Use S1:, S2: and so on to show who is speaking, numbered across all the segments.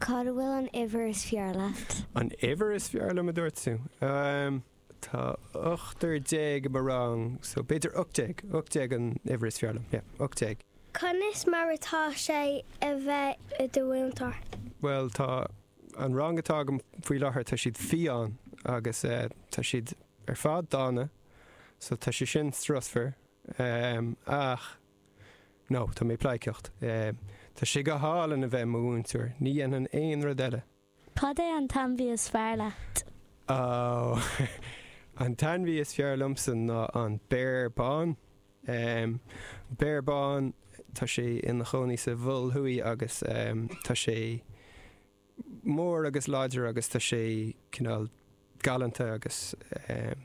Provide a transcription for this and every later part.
S1: Cad a bhfuil an uimhir is fearr leat?
S2: An uimhir is fearr liom a dúirt tú? Tá ochtar déag i mo rang, so b'fhéidir 18, 18 an uimhir is fearr liom, yeah, 18.
S3: Conas mar atá sé a bheith i do mhúinteoir?
S2: Bhuel, tá an rang atá agam faoi láthair, tá siad fiáin agus tá siad ar fad dána, so tá sé sin strusmhar, ach no, tá mé ag pleidhcíocht. Tá sé go hálainn a bheith i mo mhúinteoir, ní dhéanfainn aon rud eile.
S1: Cad é an t-ainmhí is fearr leat?
S2: Oh, an t-ainmhí is fearr liomsa ná an béar bán. Béar bán, tá sé ina chónaí sa Mhol Thuaidh agus tá sé mór agus láidir agus tá sé cineál galánta agus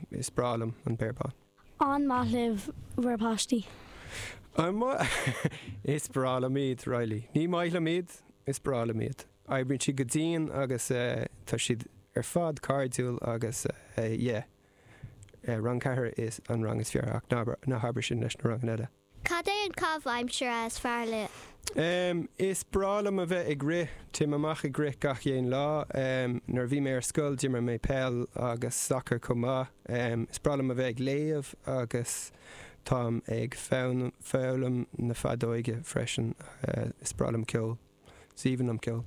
S2: is breá liom an béar bán.
S1: An maith libh bhur bpáistí?
S2: An maith? Is breá liom iad, Riley. Ní maith liom iad, is breá liom iad. Oibríonn siad go dian agus tá siad ar fad cairdiúil agus yeah. Rang 4 is an rang is fearr ach ná habair sin leis na ranganna eile.
S3: Cad é an caitheamh aimsire is fearr leat?
S2: Is breá liom a bheith ag rith. Téim amach ag rith gach aon lá. Nuair a bhí mé ar scoil d'imir mé peil agus sacar chomh maith. Is breá liom a bheith ag léamh agus táim ag foghlaim na feadóige freisin. Is breá liom ceol. Is aoibhinn liom ceol.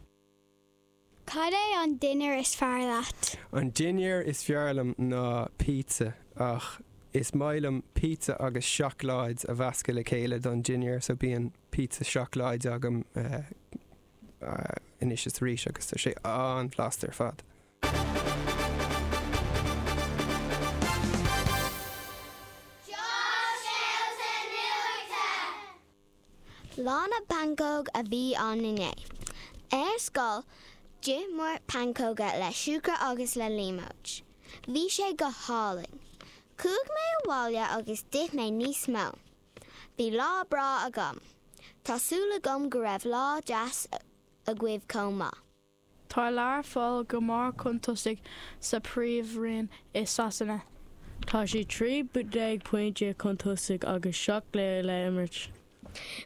S3: Cad é an dinnéar is fearr leat?
S2: An dinnéar is fearr liom ná pizza ach is maith liom pizza agus seacláid a mheascadh le chéile don dinnéar so bíonn pizza seacláide agam anois is arís agus tá sé an-bhlasta ar fad.
S3: Scéalta Nuachta! Lá na bPancóg a bhí ann inné. Ar scoil, d'ith muid pancóga le siúcra agus le líomóid. Bhí sé go hálainn. Chuaigh mé abhaile agus d'ith mé níos mó. Bhí lá breá agam. Tá súil agam go raibh lá deas agaibh chomh maith.
S4: Tá Learpholl go mór chun tosaigh sa Phríomhroinn i Sasana.
S5: Tá siad 13 pointe chun tosaigh agus 7 gcluiche le imirt.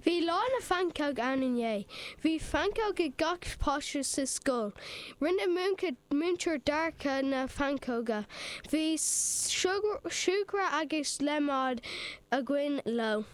S3: Bhí lá na phancóg ann inné. Bhí pancóg ag gach páiste sa scoil. Rinne múinteoir Dorcha na pancóga. Bhí siúcra agus líomóid againn leo.